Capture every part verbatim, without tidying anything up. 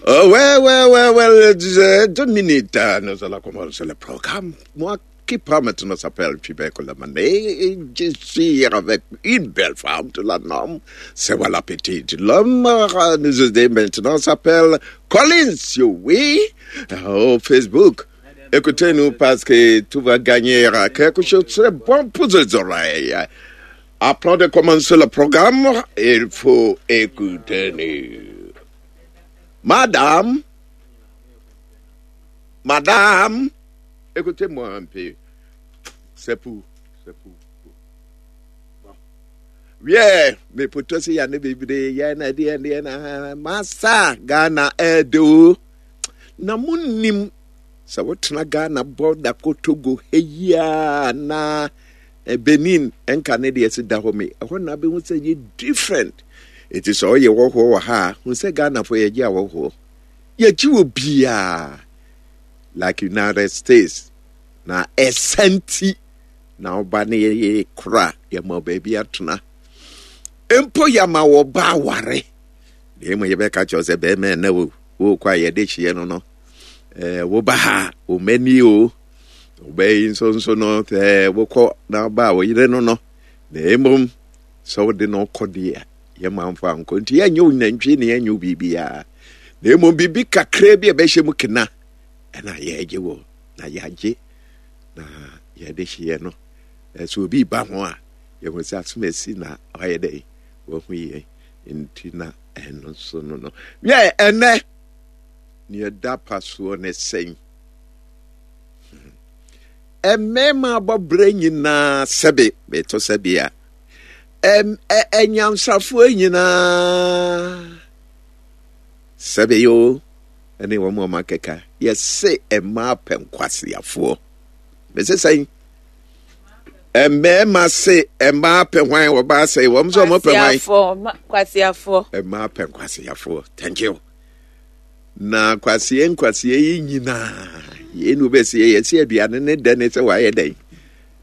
Oh, ouais, ouais, ouais, ouais, deux minutes, nous allons commencer le programme. Moi qui prends maintenant s'appelle Fibeko Lamane, et je suis avec une belle femme de la norme, c'est voilà petite. L'homme nous aide maintenant s'appelle Collins, oui, au Facebook. Écoutez-nous parce que tout va gagner quelque chose de très bon pour les oreilles. Après de commencer le programme, il faut écouter nous. Madame, Madame, écoutez-moi un peu. C'est pour, c'est pour. Bon. Yeah, mais pour toi, c'est Yann Bibri, Yann Yann Yann Massa, Ghana, Edo. Na munim, sɛ wotena Ghana border kɔ Togo heya na Benin ɛnka ne deɛ ɛsi da hɔ mi ɛhɔ na abɛhu sɛ yɛ different. Eti sɛ ɔyɛ wɔhoɔ wɔ ha a, hu sɛ Ghanafoɔ yɛgye awɔhoɔ. Yɛgye wɔ biaa like United States na ɛsɛnti na ɔba ne yɛ kora yɛma baabi atena. Mpo yɛma wɔ ba aware. Na emu yɛbɛka kyerɛ sɛ bɛrima ɛnɛ wo wokɔ a yɛde hyeɛ no no. Ɛɛ woba ha wo mani o. Wobɛyi nso nso no sɛ wokɔ na ba a wo yere no no. Na emom sɛ wode no kɔ deɛ yɛma mfa nkɔ nti yɛnyɛ wo nantwie ne yɛnyɛ wo biribiara. Na emom biribi kakra bi a ɛbɛhyɛ mu kena ɛna yɛgye wɔ na yɛagye na yɛde hyeɛ no. Sɛ obi ba ho a yɛhu sɛ asom asi na ɔyɛ dɛ wahu yɛn nti na ɛno nso no no. Yɛ ɛnɛ nea ɛda pa soɔ ne sɛn. Mmarima abɔbrɛ nyinaa sɛbe bɛtɔ sɛbe a ɛnyansafoɔ nyinaa sɛbe yo ɛne wɔn a wɔakeka yɛse mmaa pɛ nkwaseafoɔ. Mese sɛn mmarima se mmaa pɛ hwan wɔbaa sɛ wɔn nso wɔn pɛ hwan. Kwasiafoɔ. Mmaa pɛ nkwasiafoɔ. Thank you. Na kwasie nkwasie yi nyinaa yɛn nu bɛsi yɛsi aduane ne dɛ ne sɛ wayɛ dɛn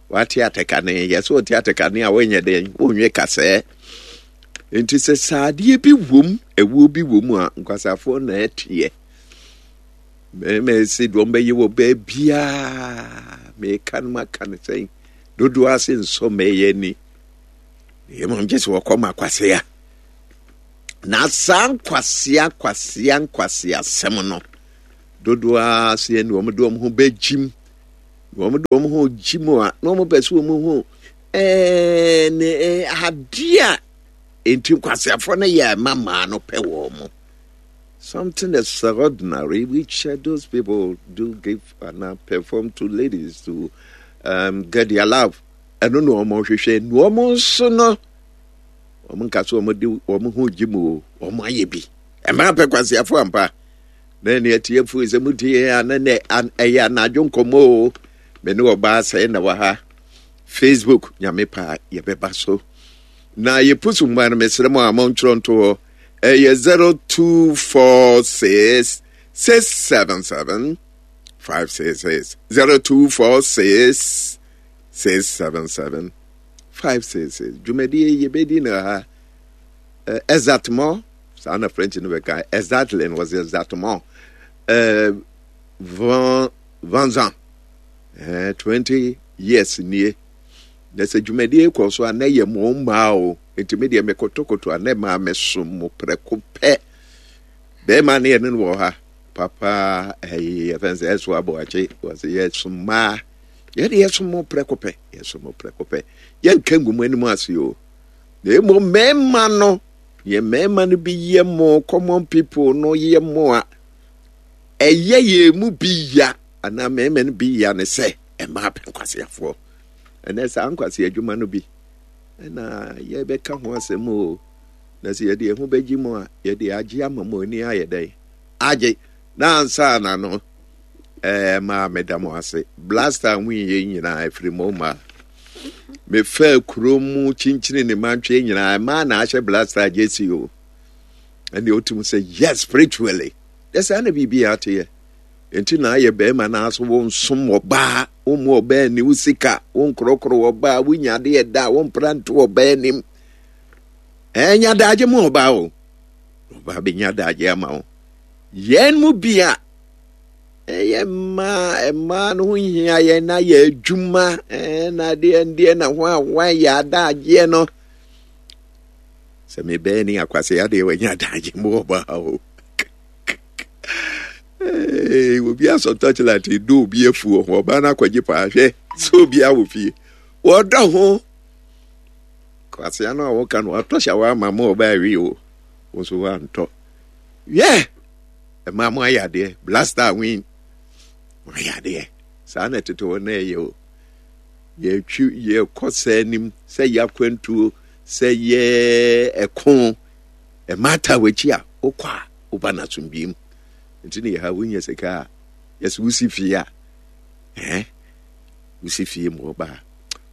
wate atɛkane yɛsɛ ɔte atɛkane a wɔnyɛ dɛn wɔnwe kasɛɛ nti sɛ saadeɛ bi wom ɛwuo bi wom a nkwasafoɔ na ɛteɛ mmarima esi deɛ ɔmbɛyɛ wɔ baabiaa meka no maka no sɛn dodoɔ ase nsɔ mɛyɛ ni mmom gye sɛ wɔkɔ ma kwasea na saa nkwasea kwasea nkwasea asɛm no dodoɔ ase ne wɔn de wɔn ho bɛgyim na wɔn de wɔn ho gyim a na wɔn pɛ sɛ wɔn ho ɛɛ ne adeɛ a nti nkwaseafoɔ no yɛ ɛma mmaa no pɛ wɔn mo. Something extraordinary which uh, those people do give and uh, perform to ladies to um, get their love. Ɛno na wɔn hwehwɛ na wɔn nso no wɔn nka so wɔn de wɔn ho gye mu o wɔn ayɛ bi mmaa pɛ kwaseafo ampa na ɛne atiefo sɛ mo tie a na ne ɛyɛ anadwo nkɔmɔ o me ne ɔbaa sɛɛ na wɔ ha Facebook nyame paa yɛbɛba so na yɛpusu mmaa no mesrɛ mo a montwerɛ nto hɔ ɛyɛ zero two four six six seven seven five six six zero two four six six seven seven five six six dwumadie yɛbɛdi no ha uh, exactement saa na French no bɛka exactly no was exactement uh, vingt vingt ans uh, twenty years nie na sɛ dwumadie kɔ so a na yɛ mo mmaa o nti me deɛ mekotokoto a na mmaa mesom mo prɛko pɛ bɛrima ne yɛne no wɔ ha papa ɛyi yɛfɛn sɛ ɛso aboakye wɔsɛ yɛsom mmaa yɛde yɛsom mo prɛko pɛ yɛsom mo prɛko pɛ yɛnka ngu mo anim ase o na emu mmarima no yɛ mmarima no bi yɛ mo common people no yɛ mo a ɛyɛ yɛn mu bi ya anaa mmarima no bi ya ne sɛ mmaa pɛ nkwaseafoɔ ɛnɛ saa nkwasi adwuma no bi ɛna yɛbɛka ho asɛm o na sɛ yɛde ɛho bɛgye mu a yɛde agye ama mo ani ayɛ dɛn agye na ansa na no ɛɛ maa meda mo ase blaster ho yɛ nyinaa ɛfiri mo mmaa mefa kuro mu kyinkyini ne mantwe nyinaa mmaa na ahyɛ blaster jersey o ɛne otum sɛ yes spiritually yɛ saa na biribi ateɛ nti na ayɛ bɛrima na aso wo nsom ɔbaa wo mu ɔbaa ni wo sika wo nkorɔkorɔ ɔbaa wo nya adeɛ da wo mpra nto ɔbaa anim ɛnya daagye mu ɔbaa o ɔbaa bɛnya daagye ama wo Yɛn mu bi a ɛyɛ mmaa mmaa no ho hia yɛn na yɛ adwuma ɛɛ na adeɛ ndeɛ na ho a wɔayɛ adagyeɛ no. Sɛ mebɛɛ ne akwase adeɛ wɔanya adagye mu ɔbaa o. Hey, obi asɔ torchlight edo obi afu wɔ ho ɔbaa no akɔgye paa hwɛ sɛ obi awɔ fie wɔdɔ ho kwasea no a wɔka no watɔ hyɛ wɔ ama ma ɔbaa awie o wo nso woantɔ yɛ ɛma mo ayɛ adeɛ blaster win mo ayɛ adeɛ saa na ɛtete hɔ na ɛyɛ o yɛtwi yɛkɔ sɛ anim sɛ yɛ akwantuo sɛ yɛ ɛko ɛma ata w'akyi a wokɔ a woba no asomdwoe mu nti ne yɛha wonya sika a yɛsɛ wosi fie a ɛɛ wosi fie mu ɔbaa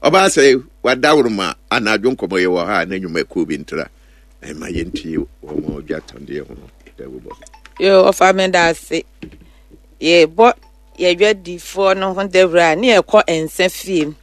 ɔbaa sɛ wadaworoma anadwo nkɔmmɔ yɛ wɔ ha a na nnwumakuo bi ntra ɛma yɛntie wɔn ɔdwa tɔndeɛ ho dawubɔ. Yo, ɔfa me da ase. Yɛbɔ yɛdwadifoɔ no ho dawuro a ne yɛkɔ nsa fie.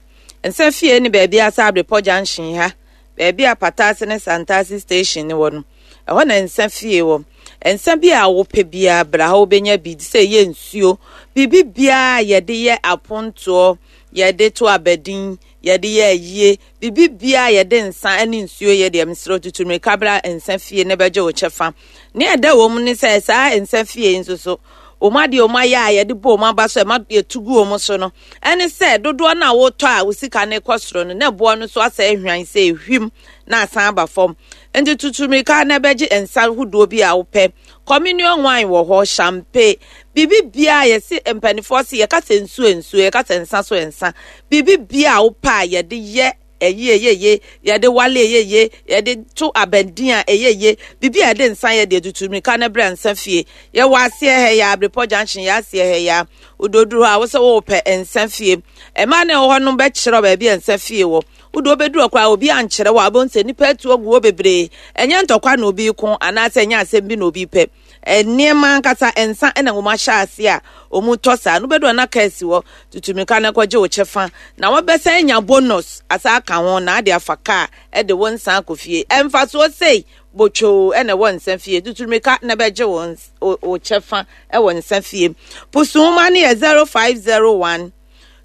Nsa fie ne baabi asa Abrepɔ junction ha, baabi a Patase ne Santase station ne wɔ no. Ɛhɔ na nsa fie wɔ. Nsa bi a wopɛ biara bra ha wobɛnya bi sɛ ɛyɛ nsuo, biribi biara yɛde yɛ apontoɔ, yɛde to abadin, yɛde yɛ ayie, biribi biara yɛde nsa ne nsuo yɛ deɛ mesrɛ tutu mmirika bra nsa fie na bɛgye wo kyɛfa. Ne ɛda wɔ mu ne sɛ saa nsa fie yi nso so wɔn adeɛ wɔn ayɛ a yɛde bɔ wɔn aba so ɛma yɛtu gu wɔn so no ɛne sɛ dodoɔ no a wotɔ a wo sika no kɔ soro no na ɛboɔ no so asɛ ahwan sɛ ehwim na asan aba fam. Nti tutu mmirika na bɛgye nsa ahodoɔ bi a wopɛ. Communion wine wɔ hɔ, champagne, biribi biara yɛsi mpanimfoɔ si yɛka sɛ nsuo nsuo, yɛka sɛ nsa so nsa. Biribi biara a wopɛ a yɛde yɛ ɛyie yeye, yɛde wale yeye, yɛde to abɛnten a ɛyɛ ye, biribi a yɛde nsa yɛ deɛ tutu mmirika na brɛ nsa fie. Yɛwɔ aseɛ ha yi a, Abrepɔ junction yɛ aseɛ ha yi a, wododuru hɔ a wosɛ wɔpɛ nsa fie. Mmaa na ɛwɔ hɔ no bɛkyerɛ baabi a nsa fie wɔ. Wode wobɛduru hɔ koraa obi ankyerɛ wɔ a wobɛhu sɛ nnipa atu agu hɔ bebree. Ɛnyɛ ntɔkwa na obi ko anaasɛ ɛnyɛ asɛm bi na obi pɛ. Nneɛma ankasa nsa na wɔn ahyɛ ase a wɔn tɔ saa no wobɛduru hɔ na kaa si hɔ tutu mmirika na kɔgye wo kyɛfa na wɔbɛsan anya bonus asa aka ho na ade afa kaa ɛde wo nsa akɔ fie. Ɛmfasoɔ sei botwoo ɛna ɛwɔ nsa fie. Tutu mmirika na bɛgye wo wo kyɛfa ɛwɔ nsa fie. Pusuhoma no yɛ zero five zero one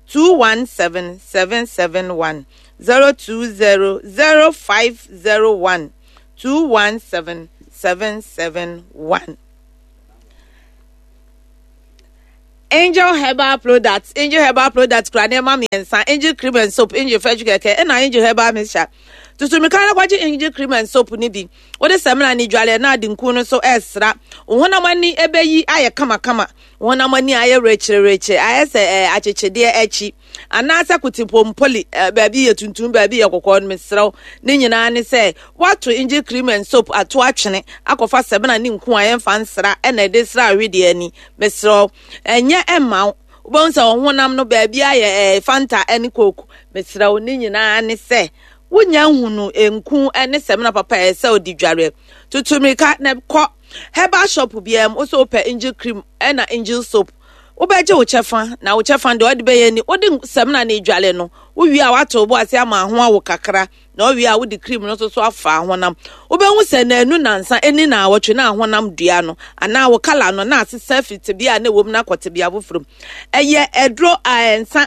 two one seven seven seven one zero two zero zero five zero one two one seven seven seven one. Angel Herbal Products, Angel Herbal Products kura nneɛma mmiɛnsa, Angel Cream and Soap, Angel Fresh Kɛkɛ, ɛna Angel Herbal Mixture. Tutu mirika na kɔgye Angel Cream and Soap ni bi. Wode samina ne dwale na ade nku no so ɛsra. Wo honam ani ɛbɛyi ayɛ kamakama. Wo honam ani ayɛ rekyerɛrekyerɛ, ayɛ sɛ ɛɛ akyekyedeɛ akyi. Anaasɛ kotipompoli, ɛɛ baabi yɛ tuntum, baabi yɛ kɔkɔɔ no mesrɛw. Ne nyinaa ne sɛ woato Angel Cream and Soap ato atwene akɔfa samina ne nku a yɛmfa nsra ɛna ɛde sra awedeɛ ani. Mesrɛw, ɛnyɛ ɛmma wo. Wobɛhu sɛ wo honam no baabi ayɛ ɛɛ Fanta ɛne Coke. Mesrɛw, ne nyinaa ne sɛ wonya nhunu nku ne samina papa a ɛsɛ wode dware. Tutu mmirika na kɔ herbal shop biara mu wosɛ wopɛ Angel Cream ɛna Angel Soap. Wobɛgye wo kyɛfa na wo kyɛfa deɛ ɔde bɛyɛ ni wode samina ne dware no wowie a woato wo bo ase ama ho awo kakra na wowie a wode cream no nso so afa ahonam. Wobɛhu sɛ naanu nansa ɛni na awɔtwe na ahonam dua no anaa wo kala no na asesa afiri tebea a na ɛwɔ mu na akɔ tebea foforɔ mu. Ɛyɛ aduro a nsa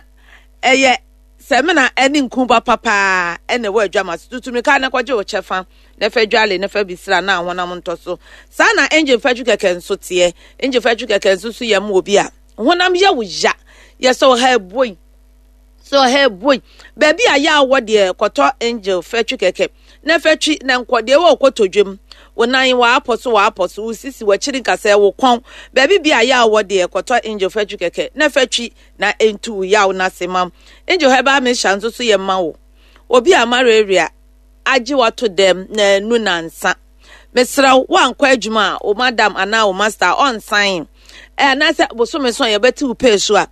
ɛyɛ samina ɛne nku papa paa ɛna ɛwɔ adwama so. Tutu mmirika na kɔgye wo kyɛfa na fa dwale na fa bisra na ahonam ntɔ so. Saa na Angel Fɛtwi Kɛkɛ nso teɛ. Angel Fɛtwi Kɛkɛ nso so yɛ ma obi a honam yɛ wo ya. Yɛ sɛ ɔha eboi. Sɛ ɔha eboi. Baabi a yɛ awɔ deɛ kɔtɔ Angel Fɛtwi Kɛkɛ na fɛtwi na nkɔ deɛ ɛwɔ kotodwem. Wo nan w'apɔ so w'apɔ so wo sisi w'akyiri nkasɛɛ wo kɔn. Baabi bi a yɛ awɔ deɛ kɔtɔ Angel Fɛtwi Kɛkɛ na fɛtwi na entu wo yaw na se mam. Angel Herbal Mixture nso so yɛ ma wo. Obi a malaria agye wato dɛm na anu nansa. Mesrɛ wo wankɔ adwuma a wo madam anaa wo master ɔnsan. Ɛ anaasɛ bosome so a yɛbɛte wo pay so a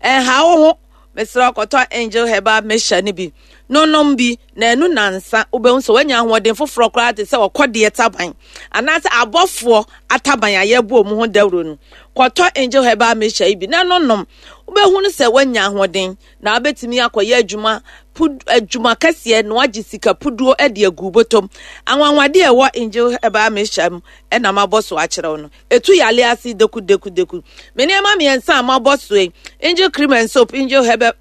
ɛnha wo ho. Mesrɛ wo kɔtɔ Angel Herbal Mixture no bi. No nom bi na ɛno nansa wobɛhu sɛ woanya ahoɔden foforɔ koraa te sɛ ɔkɔdeɛ taban anaasɛ abɔfoɔ ataban a yɛbɔ mu ho dawuro no. Kɔtɔ Angel Herbal Mixture yi bi na no nom, wobɛhu no sɛ woanya ahoɔden na wobɛtumi akɔyɛ adwuma pud adwuma kɛseɛ na wagye sika puduo de agu bɔtɔm. Anwanwadeɛ a ɛwɔ Angel Herbal Mixture mu ɛna mabɔ so akyerɛ wo no. Ɛtu yale ase deku deku deku. Me nneɛma mmiɛnsa a mabɔ so yi, Angel Cream and Soap, Angel Herbal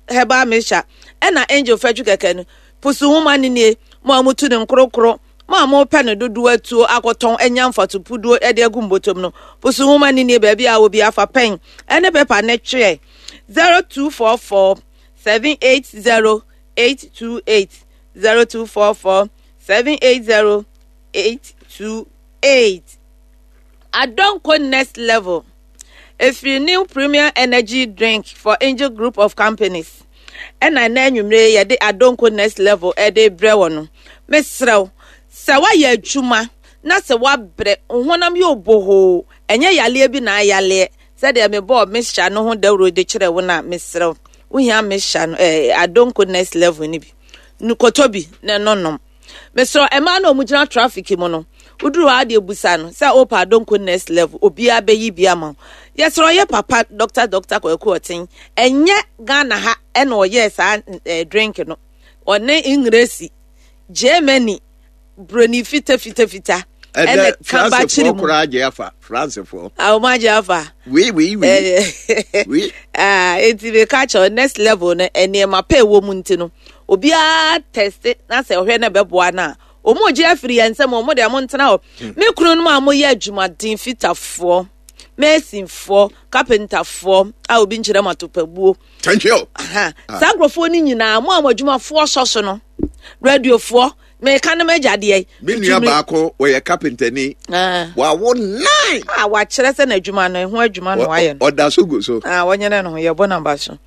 Herbal Mixture, ɛna Angel Fɛtwi kɛkɛ no, pusu nwoma no nie. Mo a motu ne nkorokoro, mo a mopɛ no dodoɔ atuo akɔtɔn anya mfato puduo de agu mbɔtɔm no, pusu nwoma no nie. Baabi a wɔ bi afa pɛn ɛne pepa ne twerɛ zero two four four seven eight zero eight two eight, zero two four four seven eight zero eight two eight. Adonko Next Level efiri New Premier Energy Drink for Angel Group of Companies, ɛna ɛna anwummere yɛde Adonko Next Level ɛde brɛ wɔ no. Mesrɛw sɛ woayɛ adwuma na sɛ woabrɛ, honam yɛ obohoo, ɛnyɛ yaleɛ bi na ayaleɛ sɛdeɛ mebɔɔ mixture no ho dawuro de kyerɛ wo no a, mesrɛw, wohia mixture no, ɛɛ Adonko Next Level no bi no, kɔtɔ bi na ɛno nom. Mesrɛ, mmaa na ɔmo gyina traffic mu no, woduru hɔ adeɛ busa no sɛ wopɛ Adonko Next Level, obiara bɛyi bi ama wo. Yɛsrɛ, ɔyɛ papa Doctor Doctor Kwaku Ɔten, ɛnyɛ Ghana ha ɛna ɔyɛɛ saa ɛɛ drink no. Ɔne Ngresi, Germany, broni fita fita fita. Ɛnɛ Francefoɔ koraa agye afa, Francefoɔ. A wɔn agye afa. Oui, oui, oui oui. Eti mi ka kyerɛ, Next Level no, nneɛma pɛ ɛwɔ mu nti no, obiara test na sɛ ɔhwɛ na ɛbɛboa no a, wɔn gye afiri yɛn nsam. Wɔn deɛ, wɔn ntena hɔ. Me kunu no mu a wɔyɛ adwumaden, fitafoɔ, masonfoɔ, carpenterfoɔ a obi nkyerɛ mu atopabuo. Thank you. Saa nkurɔfoɔ no nyinaa, mo a mo adwumafoɔ sɔ so no, radiofoɔ, meka no magya deɛ. Me nua baako wɔyɛ carpenter ni, wawo nine. A wakyerɛ sɛ n'adwuma no, ɛho adwuma no wayɛ no. Ɔda so gu so. Wɔnyɛ no ho yɛbɔ namba so.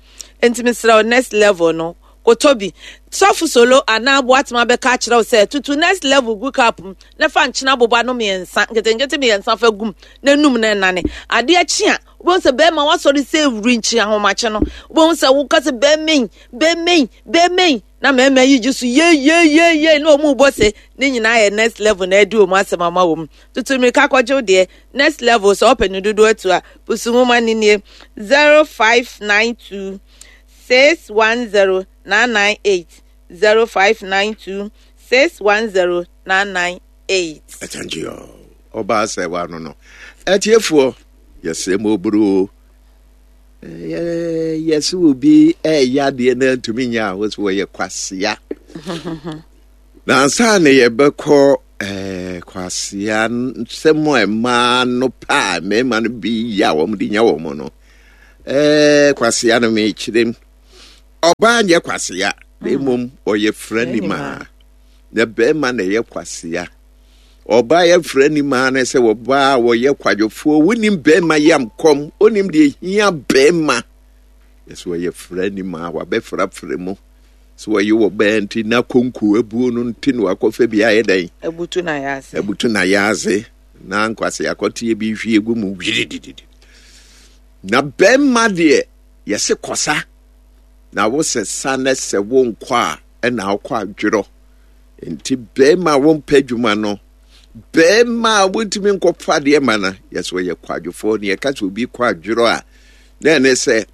Nti mesrɛ wo, Next Level no, kotɔ bi. Sɔfo Solo anaa Boatema bɛka akyerɛ wo sɛ tutu Next Level gu cup mu na fa nkyena boba no mmiɛnsa nketenkete mmiɛnsa fa gum na num na ɛnane. Adeɛ kye a, wobɛhu sɛ bɛrima wasɔre sɛ ewuri nkyi ahomakye no, wobɛhu sɛ woka sɛ bɛrima bɛrima bɛrima na mmarima yi gye so yeyeyeye na wɔn bɔ se ne nyinaa yɛ Next Level na ɛdi wɔn asɛm ama wɔn. Tutu mirika kɔgye deɛ Next Level. Sɛ ɔpɛ ne dodoɔ atu a, pusu nwoma ne nie: zero five nine two six one zero nine nine eight, zero five nine two six one zero nine nine eight. Thank you. Ɔbaa sɛ wa no no ɛtiefoɔ, yɛsɛ ma oburu yɛsɛ obi ɛyɛ adeɛ na ntumi nyɛ a, wɔsɛ wɔyɛ kwasea. Na ansa na yɛbɛkɔ ɛɛ kwasea nsɛm a mmaa no pa a mmarima no bi yɛ a wɔn de nya wɔn no, ɛɛ kwasea no, mekyerɛ mu, ɔbaa nyɛ kwasea na mmom ɔyɛ frɛ na bɛrima na ɛyɛ kwasea. Ɔbaa yɛ frɛ ni maa no sɛ ɔbaa a wɔyɛ kwadwofoɔ, wonim bɛrima yam kɔm, wonim deɛ hia bɛrima, yɛsɛ wɔyɛ frɛ ni maa wabɛfrafrɛ mu sɛ wɔyɛ wɔ bɛɛ nti na konko abuo no nti na wakɔfɛ bi ayɛ dɛn. Abutu na yɛ ase. Abutu na yɛ ase na nkwase akɔteɛ bi hwie gu mu wiridididi. Na bɛrima deɛ, yɛse kɔsa na wosɛ sa na sɛ wo nkɔ a, ɛna wokɔ adwerɔ. Nti bɛrima a wɔmpɛ adwuma no, bɛrima a wontumi nkɔfa adeɛ ma no, yɛsɛ wɔyɛ kwadwofoɔ. Ne yɛka sɛ obi kɔ adwerɔ a, na ɛne sɛ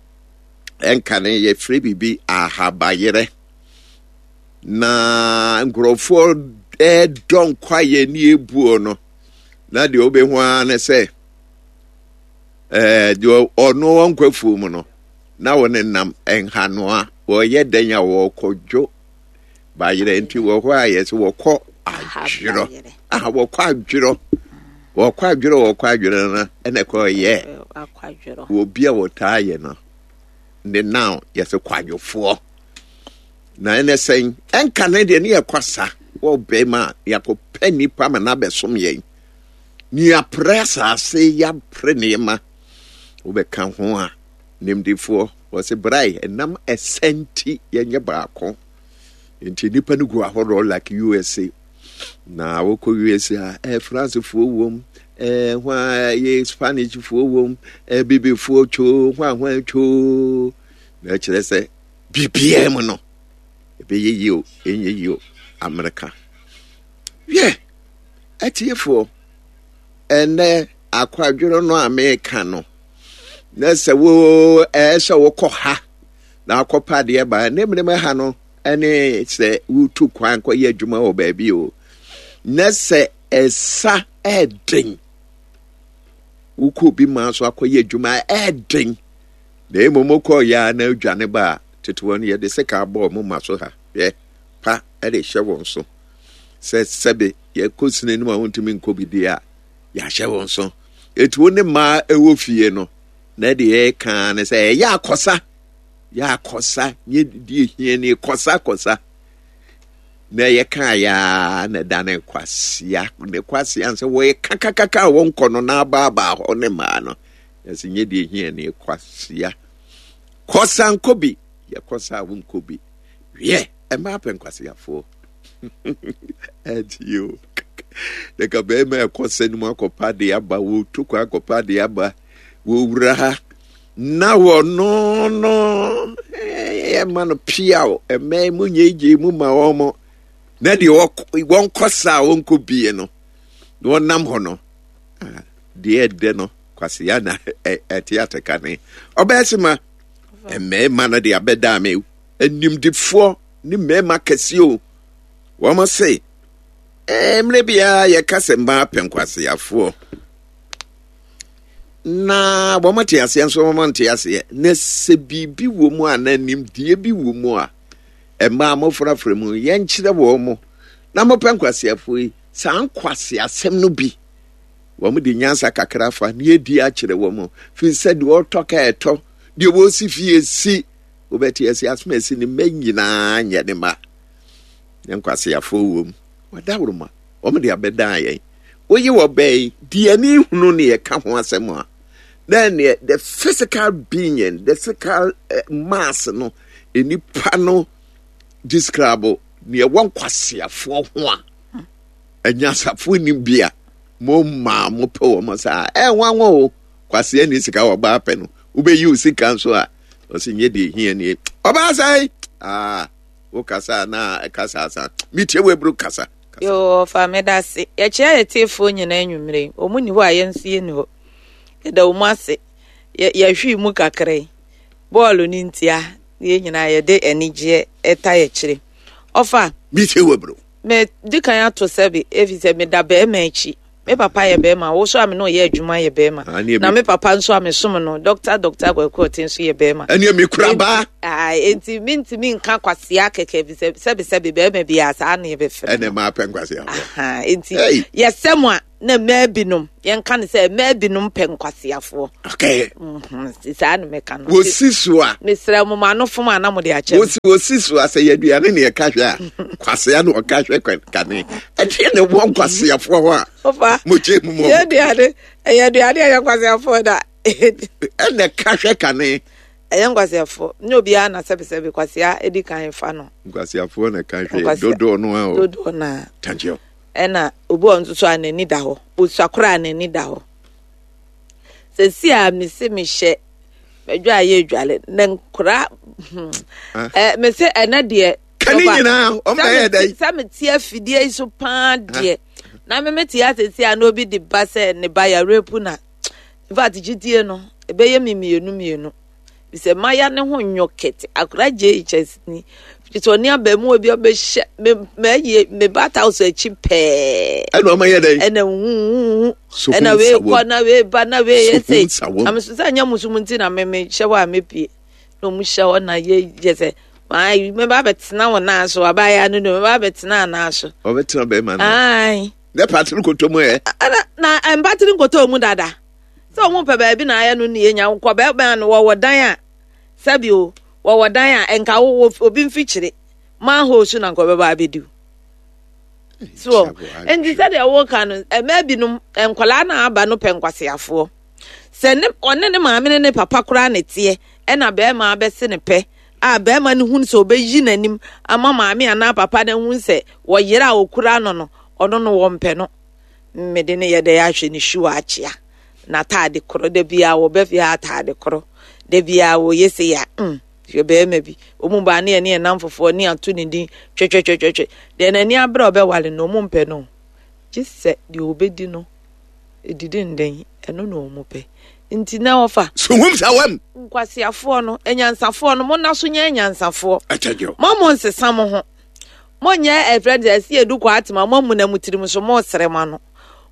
ɛnka ne yɛfrɛ biribi ahabayerɛ na nkurɔfoɔ ɛdɔ nkwaeɛ ne ebuo no, na deɛ wobɛhu ara ne sɛ ɛɛ deɛ ɔno ɔnkɔ afuo mu no na wɔne nam nhanoa, wɔyɛ dɛn a wɔkɔdwo bayerɛ. Nti wɔ hɔ a yɛsɛ wɔkɔ adwerɔ, aha, wɔkɔ adwerɔ, wɔkɔ adwerɔ, wɔkɔ adwerɔ no, ɛna ɛkɔ yɛ obi a wɔtaa yɛ no ne now yɛsɛ kwadwofoɔ. Na ɛnɛ sɛn ɛnka ne deɛ ne yɛ kwasa wɔ bɛrima a yɛakɔpɛ nipa ma n'abɛsom yɛn ne yɛaprɛ asase, yɛapre nneɛma wobɛka ho a, nimdifoɔ wɔsɛ brae ɛnam ɛsɛ nti yɛnyɛ baako. Nti nipa no gu ahoroɔ like U S A. Na wokɔ U S A a, ɛɛ Francefoɔ wom, ɛɛ hwan yɛ Spanishfoɔ wom, ɛɛ bibifoɔ twoo, hwan hwan twoo, na ɛkyerɛ sɛ biribiara mu no Ɛbɛyɛ yie o, ɛnyɛ yie o, Amerika. Wiɛ, atiefoɔ, ɛnɛ akwadwono no a meka no, na sɛ wo ɛɛ sɛ wokɔ ha na akɔpa adeɛ ba ne mmerɛ ha no ɛne sɛ wotu kwan kɔyɛ adwuma wɔ baabi o, na sɛ ɛsa ɛɛden wokɔ obi maa so akɔyɛ adwuma ɛɛden na mmom wokɔ yɛ a na adwane ba a tete wɔn yɛde sika abɔ ɔmo ma so ha hwɛ pa ɛde hyɛ wɔn so sɛ sɛbe yɛkɔ sini no mu a wontumi nkɔ bi deɛ a yɛahyɛ wɔn so etu wo ne mmaa ɛwɔ fie no na deɛ ɛka ne sɛ ɛyɛ akɔsa yɛ akɔsa nyɛ deɛ hia ne kɔsa kɔsa na yɛka ya na da ne kwasia ne kwasia sɛ wɔyɛ kakakaka a wɔnkɔ no na abaabaa hɔ ne mmaa no yɛsɛ nyɛ deɛ hia ne kwasia kɔsa nkɔ bi yɛkɔsa a wonkɔ bi wiɛ ɛmaa pɛ nkwasiafoɔ ɛnti o dɛka bɛrima ɛkɔsa no mu akɔpa de aba wɔtu kɔ akɔpa de aba wɔwura ha na wɔno no ɛma no piaw ɛmɛ mu nyegye mu ma wɔn mo na deɛ wɔnkɔ sa a wɔnkɔ bie no na wɔnam hɔ no deɛ ɛdɛ no kwasiya na ɛte ateka ne ɔbɛyɛ se ma mmarima no de abɛda me animdifoɔ ne mmarima kɛseɛ o wɔn se mmerɛ biara yɛka sɛ mmaa pɛ nkwasiafoɔ na wɔn te aseɛ nso wɔn nte aseɛ na sɛ biribi wɔ mu a na nimdeɛ bi wɔ mu a mmaa mofrafra mu yɛnkyerɛ wɔn mo na mopɛ nkwasiafoɔ yi saa nkwasiasɛm no bi wɔn de nyansa kakra fa ne yɛdi akyerɛ wɔn firi sɛ deɛ ɔtɔ ka ɛtɔ deɛ wɔsi fie si wobɛte asi asoma asi ne mma nyinaa nyɛ ne ma ne nkwasiafoɔ wɔ mu wɔdaworoma wɔn de abɛdan yɛn woyi wɔ bɛyi deɛ ne hunu ne yɛka ho asɛm a then the physical being the physical uh, mass no nipa no describe neɛ ɛwɔ nkwasiafoɔ ho a anyasafoɔ nim bi a mo maa mo pɛ wɔn saa ɛnwanwa o kwasia ni sika wɔ ɔbaa pɛ no wobɛyi wo sika nso a ɔsi nye deɛ hia nie ɔbaa sɛn aa wo kasa na ɛkasa asa metie wo eburu kasa. Yo, fa meda ase. Yɛkyerɛ yɛ tiefoɔ nyinaa anwummere yi. Wɔn ni hɔ a yɛn nso yɛni hɔ. Yɛda wɔn ase. Yɛhwee mu kakra yi. Bɔɔlo no ntia yɛn nyinaa yɛde anigyeɛ ɛta yɛkyerɛ. Ɔfa. Metie wo eburu. Me di kan ato sɛbi efi sɛ meda bɛrima akyi. Me papa yɛ bɛrima, wo so a me ne ɔyɛ adwuma yɛ bɛrima. Na me papa nso a me som no, Doctor Doctor Kwaku Ɔte nso yɛ bɛrima. Ɛne mi kura baa. Enti mintimi nka kwasia kɛkɛ bi sɛ sɛbi sɛbi bɛrima bi a saa na yɛbɛfrɛ. Ɛne maa pɛ nkwasia. Enti yɛsɛ mo a na mmaa binom yɛnka ne sɛ mmaa binom pɛ nkwasiafoɔ. Okay. Saa na mɛka no. Wosi so a. Mesrɛ mo ma ano fom a na mo de akyɛ. Wosi wosi so a sɛ yɛaduane ne yɛka hwɛ a kwasia na ɔka hwɛ kane. Ɛdeɛ na ɛwɔ nkwasiafoɔ hɔ a. Ofa. Mo gye mu mɔ. Yɛaduane ɛyɛ aduane a ɛyɛ nkwasiafoɔ da. Ɛna ka hwɛ kane. Ɛyɛ nkwasiafoɔ nyɛ obiara na sɛbisɛbi kwasia edi kan fa no. Nkwasiafoɔ na ka hwɛ dodoɔ no a o. Dodoɔ no a. Thank you. Ɛna obi wɔ nso so a n'ani da hɔ osua koraa n'ani da hɔ sɛsi a mese mehyɛ madwa a yɛ adwale na nkora ɛ mese ɛnɛ deɛ kane nyinaa ɔmo bɛyɛ dɛ sɛ mete afidie yi so paa deɛ na me mete asɛsi a na obi de ba sɛ ne ba yɛ repu na in fact gyidie no ɛbɛyɛ me mmienu mmienu sɛ maya ne ho nyɔ kɛte akora gye H S ni sɛ ɔne abɛɛmuwa bi ɔbɛhyɛ me mɛyɛ me bata house akyi pɛɛ. Ɛna ɔma yɛ dɛ. Ɛna huhuhu ɛna wei kɔ na wei ba na wei yɛ sɛ na meso sɛ nyɛ musu mu nti na me me hyɛ hɔ a mepie na ɔmo hyɛ hɔ na yɛ yɛ sɛ maa me ba bɛtena wɔn nan so abaayewa no no me ba bɛtena anan so. Ɔbɛtena bɛrima no. Ayi. Ne patiri nkoto mu yɛ. Ɛna na mpatiri nkoto mu dada sɛ ɔmo pɛ baabi na ayɛ no ne yɛ nya nkɔ bɛrima no wɔwɔ dan a sɛbi o wɔwɔ dan a nka wo obi mfikyire manhole so na nka ɔbɛba abɛdi so nti sɛdeɛ wɔka no mmaa binom nkwadaa na aba no pɛ nkwaseafoɔ sɛ ne ɔne ne maame ne ne papa koraa ne teɛ ɛna bɛrima abɛse ne pɛ a bɛrima no hun sɛ ɔbɛyi n'anim ama maame anaa papa no hun sɛ wɔyere a ɔkura no no ɔno no wɔmpɛ no mmede ne yɛ dɛ ahwɛ ne hwiwa akyea n'ataade korɔ da biara wɔbɛ fie ataade korɔ da biara wɔyɛ se ya mm. Hwɛ bɛrima bi, ɔmu baa ne yɛ ne yɛ nam fofoɔ ne ato ne din twɛtwɛtwɛtwɛ. Deɛ n'ani abere a ɔbɛwale no, ɔmu mpɛ no. Gye sɛ deɛ ɔbɛdi no, ɛdidi nden, ɛno na ɔmu pɛ. Nti na wɔfa. Suhum sawam. Nkwasiafoɔ no, anyansafoɔ no, monna so nyɛ anyansafoɔ. Ɛkyɛgyɛ. Mo mo nsesa mo ho. Monyɛ ɛfrɛ de ɛsi edu kɔ atema mo amu na mo tirim so mo sere mo ano.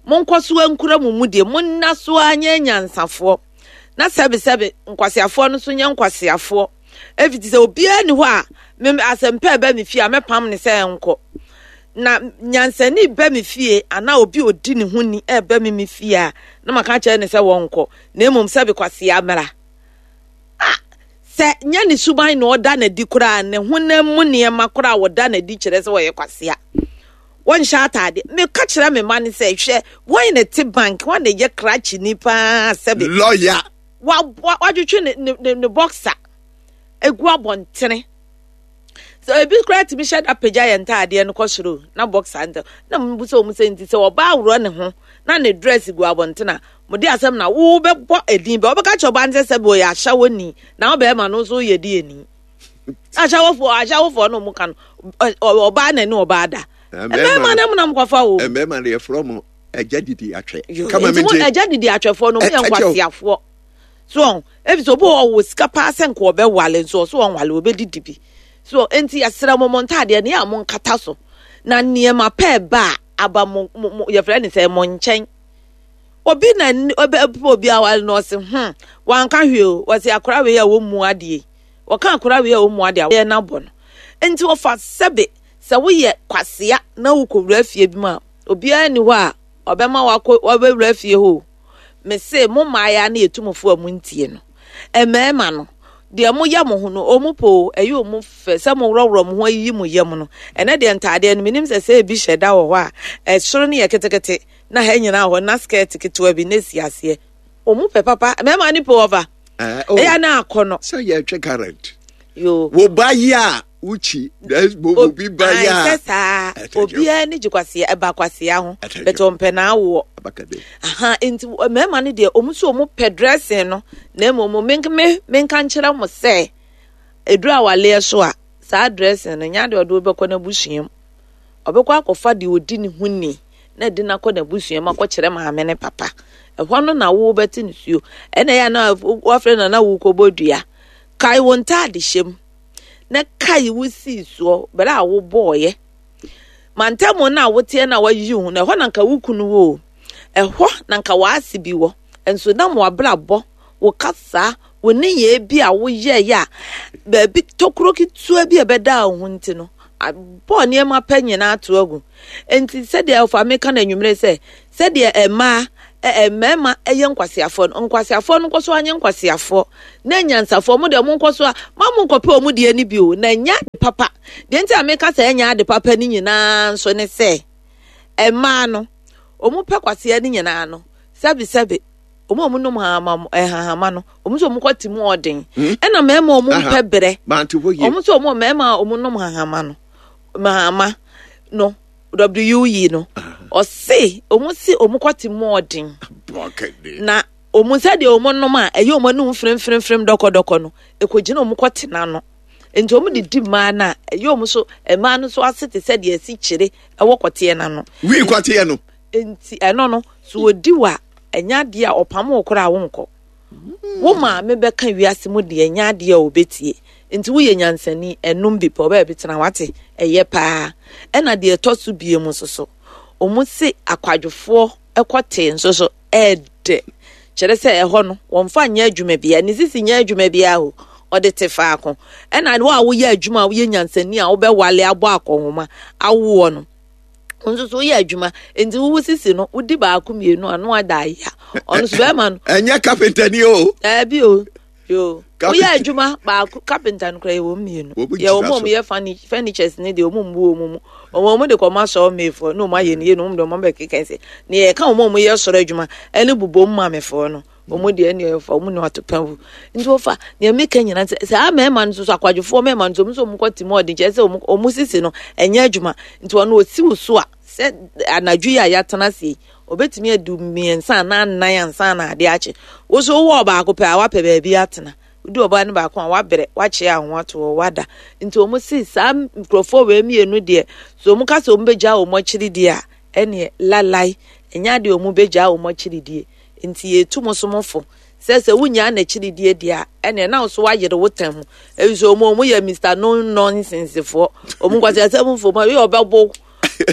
Monkɔ so ankura mo mu deɛ, monna so anyɛ anyansafoɔ. Na sɛbe sɛbe nkwasiafoɔ no so nyɛ nkwasiafoɔ. Efiti sɛ obiara ni hɔ a me asɛmpɛ ba me fie a mɛpam ne sɛ nkɔ. Na nyansani ba me fie ana obi odi ne ho ni ɛba me me fie a na maka kyerɛ ne sɛ wɔnkɔ. Na mmom sɛbe kwasia mmra. Ah, sɛ nyɛ ne suban na ɔda n'adi koraa ne honam mu nneɛma koraa wɔda n'adi kyerɛ sɛ wɔyɛ kwasia. Wɔnhyɛ atade. Meka kyerɛ me ma ne sɛ hwɛ wɔn na te bank wɔn na yɛ krakye ni paa sɛbe. Lawyer. Wa wa wadwetwe ne ne ne, ne boxer egu abɔntene. Sɛ ebi koraa tumi hyɛ da pagya yɛn ntaadeɛ no kɔ soro na boxer ntɛ na mo bu sɛ wɔn sɛ nti sɛ ɔbaa aworɔ ne ho na ne dress gu abɔntene a mo de asɛm na wo bɛbɔ edin bɛ ɔbɛka kyerɛ ɔbaa no sɛ sɛbi ɔyɛ ahyɛwɔni na ɔbɛrima no nso yɛ di eni ahyɛwɔfoɔ ahyɛwɔfoɔ no mo ka no ɔbaa na ne ɔbaa da mmarima no mu nam kɔfa o Mmarima no yɛfrɛ mo agya didi atwɛ. Kama mi nti agya didi atwɛfoɔ no mo yɛ nkwasiafoɔ so ebi sɛ obi wɔ wɔ sika paa sɛ nka ɔbɛwale nso ɔso wɔnwale ɔbɛdidi bi so nti yɛsrɛ mo mo ntaadeɛ ne yɛ a mo nkata so na nneɛma pɛɛ ba a aba mo mo yɛfrɛ ne sɛ mo nkyɛn obi na ɔbɛ obi awale na ɔse hmm wanka hwee o wɔse akora wei a wɔmmu adeɛ wɔka akora wei a wɔmmu adeɛ a wɔyɛ n'abɔ no nti wɔfa sɛbe sɛ woyɛ kwasea na wokɔwura fie bi mu a obiara ni hɔ a ɔbɛma wakɔ wabɛwura fie hɔ mese mo mmaaya ne yɛtumfoɔ a montie no mmarima no deɛ moyɛ mo ho no ɔmu po ɛyɛ ɔmu fɛ sɛ mo worɔworɔ mo ho ayiyi mo yam no ɛnɛ deɛ ntaadeɛ no menim sɛ sɛ ebi hyɛ da wɔ hɔ a ɛsoro no yɛ ketekete na ha nyinaa hɔ na skirt ketewa bi na esi aseɛ ɔmu pɛ papa mmarima ne po ɔfa ɛyɛ na akɔ no sɛ yɛtwe current yo wo ba yi a wukyi obi ba yi a sɛ saa obiara ne gye kwasia ɛba kwasia ho bɛtɛ ɔmpɛ na awoɔ aha nti mmarima no deɛ ɔmo nso ɔmo pɛ dressing no na mmom me me menka nkyerɛ mo sɛ eduru awaleɛ so a saa dressing no nya deɛ ɔde bɛkɔ n'abusua mu ɔbɛkɔ akɔfa deɛ odi ne ho ni na ɛde n'akɔ n'abusua mu akɔkyerɛ maame ne papa ɛhɔ no na wo bɛte ne suo ɛna ɛyɛ na wafrɛ na na wo kɔbɔ dua kae wo ntaade hyɛ mu na kae wo sii soɔ bɛrɛ a wobɔɔyɛ mantamu no a woteɛ na wayi ho no ɛhɔ na nka wo kunu wɔ o ɛhɔ na nka w'ase bi wɔ nso nam w'abrabɔ wo kasa wo nneyɛɛ bi a woyɛeɛ a baabi tokuro ketewa bi a ɛbɛda wo ho nti no abɔ nneɛma pɛ nyinaa ato agu nti sɛdeɛ ɔfa meka no anwummerɛ sɛ sɛdeɛ mmaa mmarima yɛ nkwasiafoɔ no nkwasiafoɔ no nkɔ so anyɛ nkwasiafoɔ na nyansafoɔ mo deɛ mo nkɔ so a ma mo nkɔpɛ ɔmo deɛ no bi o na nya ade papa deɛ nti a meka sɛ ɛnya ade papa no nyinaa nso ne sɛ mmaa no ɔmo pɛ kwasia no nyinaa no sɛbisɛbi ɔmo a ɔmo nom hahama hahama no ɔmo nso ɔmo kɔ te mu ɔden ɛna mmarima a ɔmo mpɛ brɛ ɔmo nso ɔmo mmarima a ɔmo nom hahama no hahama no w yi no ɔse ɔmo si ɔmo kɔ te mu ɔden na ɔmo sɛdeɛ ɔmo nom a ɛyɛ ɔmo anum fremfremfrem dɔkɔdɔkɔ no ekogyina ɔmo kɔ te n'ano nti ɔmo de di mmaa no a ɛyɛ ɔmo so mmaa no so ase te sɛ deɛ ɛsi kyerɛ ɛwɔ kɔteɛ n'ano. Wii kɔteɛ no. Nti ɛno no so odi wa ɛnya adeɛ a ɔpam wo koraa wonkɔ wo maame bɛka wiase mu deɛ ɛnya adeɛ a ɔbɛtie nti woyɛ nyansani ɛnum bi pɛ ɔbɛyɛ bi tena wate ɛyɛ paa ɛna deɛ ɛtɔ so bie mu nso so ɔmo se akwadwofoɔ ɛkɔte nso so ɛɛdɛ kyerɛ sɛ ɛhɔ no wɔmfa nyɛ adwuma bia ne sisi nyɛ adwuma bia o ɔde te faako ɛna wo a woyɛ adwuma a woyɛ nyansani a wobɛwale abɔ akɔnhoma awoɔ no nso so woyɛ adwuma nti wowo sisi no wodi baako mmienu ano ada aya ɔno so bɛrima no ɛnyɛ kapenta ni o ɛbi o yo woyɛ adwuma baako kapenta no koraa yɛ wɔn mmienu yɛ wɔn a wɔyɛ furnitures ne deɛ wɔn mbu wɔn mu wɔn wɔn de kɔma sɔɔ meefoɔ na wɔn ayɛ ne yie na wɔn de wɔn bɛkeka sɛ ne yɛ ka wɔn a wɔyɛ sɔrɔ adwuma ɛne bobom maamefoɔ no wɔn deɛ ɛne ɛfa wɔn ne wato pɛn wu nti wɔfa nea meka nyinaa sɛ saa mmarima no nso so akwadwofoɔ mmarima no nso wɔn nso wɔn kɔ te mu ɔden kyerɛ sɛ wɔn wɔn sisi no ɛnyɛ adwuma nti wɔn osi wo so a sɛ anadwo yi a yɛatena ase yi obetumi adu mmiɛnsa anaa nnan ansa na adeɛ akye woso wowɔ ɔbaako pɛ a wapɛ baabi atena Wodi ɔbaa no baako a, wabrɛ, wakyea ho ato hɔ, wada. Nti wɔn si saa nkurɔfoɔ wei mmienu deɛ, so wɔn ka sɛ wɔn bɛgya wɔn akyiri deɛ a, ɛneɛ lalai, ɛnyɛ adeɛ wɔn bɛgya wɔn akyiri die. Nti yɛtu mo so mo fo sɛ sɛ wonyaa n'akyiri die deɛ a, ɛneɛ na wo so wayere wo tɛn ho. Ebi sɛ wɔn wɔn yɛ Mister No Nonsense foɔ. Wɔn nkwasi asɛm fo mu a, ebi ɔbɛbo.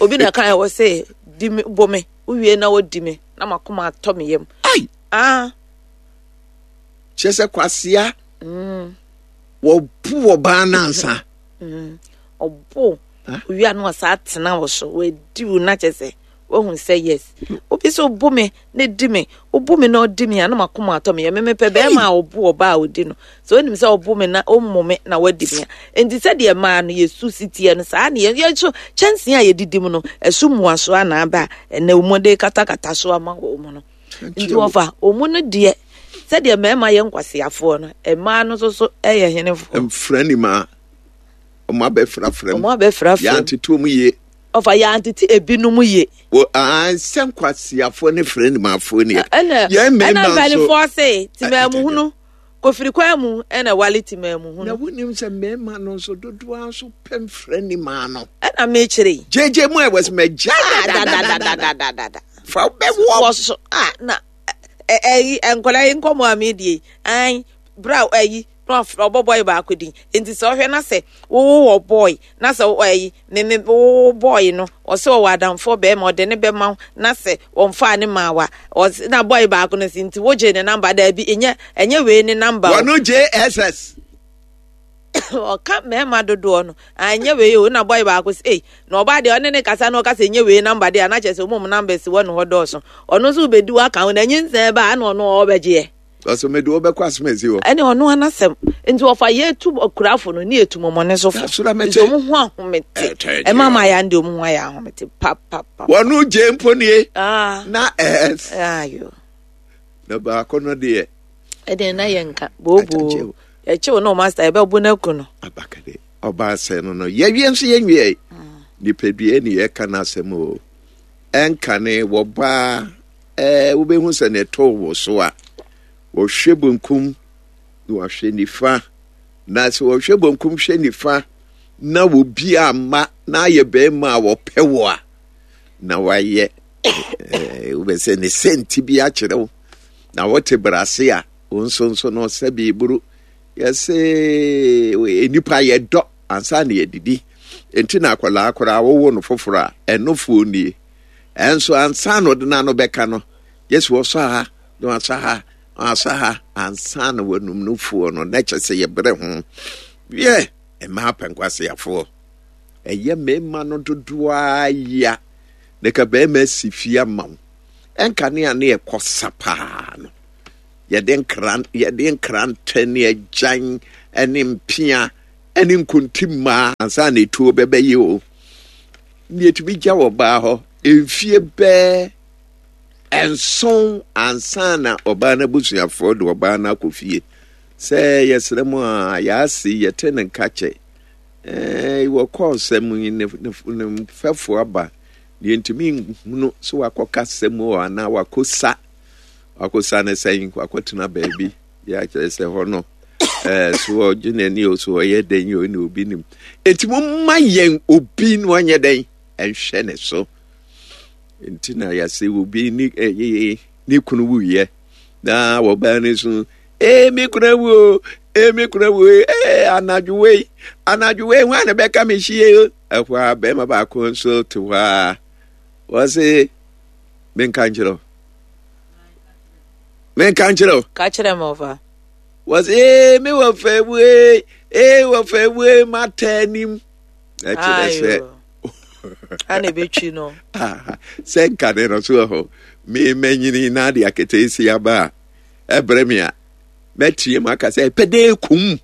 Obi na kan wɔ sɛ di me bo me, wowie na wodi me na makoma atɔ me yam. Ai! Ah. Kyerɛ sɛ kwasea. Mm. Wɔbu ɔbaa nansa. Mm. Ɔbo. Owia no ɔsaa tena wo so. Wɔadi wo na kyerɛ sɛ wohu sɛ yes. Obi sɛ obu me na di me. Obu me na ɔdi me a na makoma atɔ me yam. Me mepɛ bɛrima a ɔbu ɔbaa a ɔdi no. Sɛ onim sɛ ɔbu me na ɔmmu me na wadi me a. Enti sɛdeɛ mmaa no yɛsu si teɛ no saa ne yɛn nso kyɛnsee a yɛdidi mu no ɛso mmuaso a na aba a ɛnɛ wɔn de katakata so ama wɔn no. Nti wɔfa wɔn no deɛ sɛdeɛ mmarima yɛ nkwaseafoɔ no mmaa no nso so yɛ henefoɔ. Mfra ni maa wɔn abɛfrafra mu. Wɔn abɛfrafra mu. Yɛantete wɔn yie. Ɔfa yɛantete ebinom yie. Wɔ sɛ nkwaseafoɔ ne frɛ nimafoɔ ni. Ɛna ɛna mpanimfoɔ se temaamuhunu kofiri kwan mu ɛna wale temaamuhunu. Na wonim sɛ mmarima no nso dodoɔ nso pɛ mfrɛ nimaa no. Ɛna mekyerɛ yi. Gyegye mu a ɛwɔ sɛ mɛgya dadadadadadada. Fa wobɛwɔ. Wɔ so a na ɛyi nkwadaa yi nkɔmɔ a meedie yi an bra ɛyi na wafrɛ ɔbɔ bɔɔl baako din nti sɛ ɔhwɛ na sɛ wowo wɔ bɔɔl na sɛ ɛyi ne ne wowo bɔɔl no ɔsɛ ɔwɔ adamfoɔ bɛrima ɔde ne bɛma wo na sɛ wɔmfaa ne maa wa ɔsɛ na bɔɔl baako no si nti wogye ne namba daabi ɛnyɛ ɛnyɛ wei ne namba o. Wɔno J S S. Ɔka mmarima dodoɔ no anyɛ wei o, na bɔɔl baako sɛ ei na ɔbaa deɛ ɔne ne kasa na ɔka sɛ ɛnyɛ wei namba deɛ a na kyerɛ sɛ ɔmo namba si wɔ ne hɔ dɔɔso. Ɔno nso bɛdi waka ho na nyinsɛn ba na ɔno ɔbɛgyeɛ. Ɔsɛ mede wobɛkɔ asɛm asi hɔ. Ɛne ɔno anasɛm nti ɔfa yɛtu akurafo no ne yɛtu mɔmɔne so fo nti ɔmo ho ahomete ɛma ma yɛ ande ɔmo ho ayɛ ahomete papapa. Wɔno gye mpo nie na ɛs ayo na baako no deɛ ɛdeɛ na yɛ nka booboo yɛkyew no master yɛbɛbo no aku no. Abakade ɔbaa sɛ no no yɛwie nso yɛnwie nipadua ne yɛka no asɛm o. Ɛnka ne wɔbaa ɛɛ wobɛhu sɛ ne ɛtɔ wɔ so a wɔhwɛ bonkum na wɔahwɛ nifa, na sɛ wɔhwɛ bonkum hwɛ nifa na wɔbi amma na ayɛ bɛrima a wɔpɛ wɔ a na wayɛ ɛɛ wobɛsɛ ne sɛnti bi akyerɛ wo na wɔte brase a wo nso nso no sɛ biburu yɛsɛ nipa yɛdɔ ansa na yɛdidi. Nti na akwadaa koraa wowo no foforɔ a ɛnofoɔ nie ɛnso ansa na ɔde n'ano bɛka no yɛsɛ wɔsɔ ha na wɔasɔ ha na wɔasɔ ha ansa na wɔnum no foɔ no na kyɛ sɛ yɛbrɛ ho yɛ mmaa pɛnkwaseafoɔ ɛyɛ mmarima no dodoɔ ya na ka barima si fie ama wo ɛnka ne a ne yɛkɔ sa paa no yɛde nkran yɛde nkrantɛ ne agyan ne mpea ne nkontimmaa ansa na etuo bɛbɛyɛ o ne yɛtumi gya wɔ baa hɔ mfie bɛɛ nson ansa na ɔbaa no abusuafoɔ de ɔbaa no akɔ fie sɛ yɛsrɛ mu a yɛase yɛte ne nka kyɛ ɛɛ wɔkɔɔ sɛm yi ne ne ne mfɛfoɔ aba deɛ ntumi nhunu sɛ wakɔka sɛm o anaa wakɔsa wakɔsa ne sɛn wakɔtena baabi yɛ akyerɛ sɛ hɔ no ɛɛ so ɔgye n'ani o so ɔyɛ dɛn o ne obi nim eti mo mma yɛn obi na ɔnyɛ dɛn ɛnhwɛ ne so nti na yɛsɛ obi ne ɛyɛ ne kunu wuyɛ na wɔbaa ne so ee me kunu awu o ee me kunu awu ee anadwo wei anadwo wei hwan na bɛka me hyie o ɛhɔ a bɛrima baako nso te hɔ a wɔse menka nkyerɛ o menka nkyerɛ o ka kyerɛ me ɔfa wɔse ee me wɔ fɛ wu ee ee wɔ fɛ wu ee mata anim ɛkyerɛ sɛ ana ebetwi no sɛ nkane no so wɔ hɔ me manyini na ade aketeesi aba a ɛbrɛ me a mɛtie mu aka sɛ ɛpɛ dɛ kum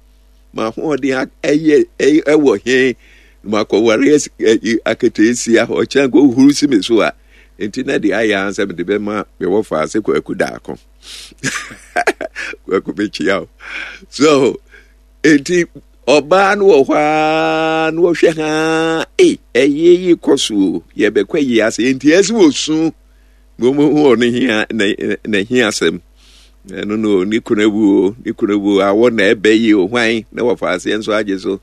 ma ahoɔden ɛyɛ ɛwɔ he ma kɔware aketeesi a ɔkyɛn kɔ huru si me so a nti na deɛ ayɛ ara sɛ mede bɛma mewɔ fa ase Kwaku Daako Kwaku bɛkyia o so nti ɔbaa no wɔ hɔ ara na wɔhwɛ ha ei ɛyɛ yi kɔ so o yɛbɛkɔ yi ase nti ɛsɛ wɔ su na wɔn hu ɔno hia na na hia asɛm Ɛno no, ne kunu awu o, ne kunu awu o, awɔ na ɛbɛ yi o, hwan na wɔfa aseɛ nso agye so.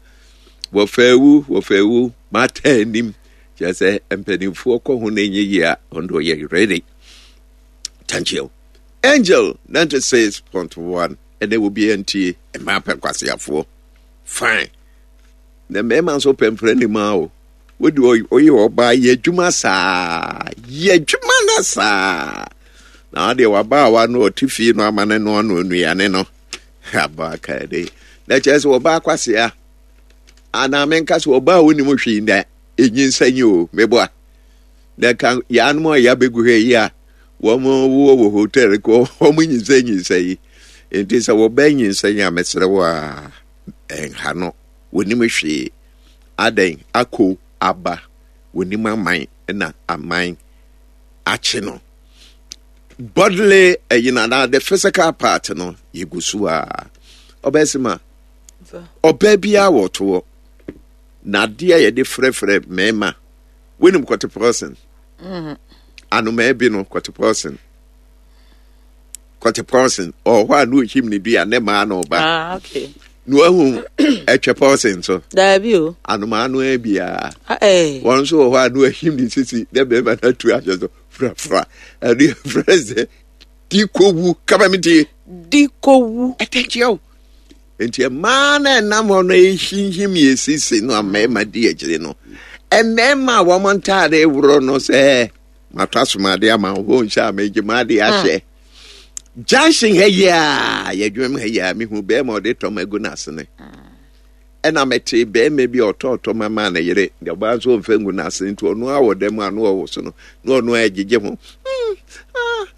Wɔfa awu, wɔfa awu, mata anim. Kyerɛ sɛ mpanimfoɔ kɔ ho na ɛnyɛ yie a, ɔno deɛ ɔyɛ ready. Thank you. Angel ninety-six point one, ɛnɛ obiara ntie, mmaa pɛ nkwaseafoɔ. Fine. Na mmarima nso pɛ mfrɛ ne mu o. Wode ɔyɛ ɔbaa, yɛ adwuma saa, yɛ adwuma na saa na adeɛ wabaawa no ɔte fie no ama ne no ano nnuane no aba kaa de na kyerɛ sɛ ɔbaa kwasea anaa menka sɛ ɔbaa a wonim hwee na ɛnyinsa nyi o, meboa na ka yɛanom a yɛabɛgu ha yi a wɔn wɔ wɔ hotel kɔ wɔn nyinsa nyinsa yi. Nti sɛ wɔbaa nyinsa yi a, mesrɛ wo a, ɛnha no, wɔnim hwee adɛn akɔ aba, wɔnim aman na aman akye no bodily ɛyi na na the physical part no yɛgu so a ɔbɛsi ma ɔbaa biara wɔ toɔ na adeɛ a yɛde frɛfrɛ mmarima. Wonim kɔte pɔsin anomaa bi no, kɔte pɔsin, kɔte pɔsin ɔwɔ hɔ a na ohim ne dua ne maa na ɔba. Ah, okay. Na wahu ɛtwɛ pɔsin so? Daabi o. Anomaa no ara biara Ah, eh. wɔn nso wɔ hɔ a na wahim ne sisi na bɛrima no atu ahyɛ so frafra. Ɛno yɛ frɛ sɛ di kowu kaba mi tie. Di kowu. Ɛtɛkyerɛ o. Nti mmaa na ɛnam hɔ no ehinhim yɛ sisi no a mmarima di akyire no, mmarima a wɔn ntaade worɔ no sɛ matɔ asomade ama wo nhyɛ a megye mo ade ahyɛ junction ha yi a yɛdwuma mu ha yi a, mehu bɛrima a ɔde tɔm agu n'asene, ɛna mɛte bɛrima bi a ɔtɔ tɔm ama ne yere deɛ, ɔbaa nso ɔmfa ngu n'asene, nti ɔno a wɔ dɛm a no ɔwɔ so no na ɔno a ɛgyegye ho. Hmm,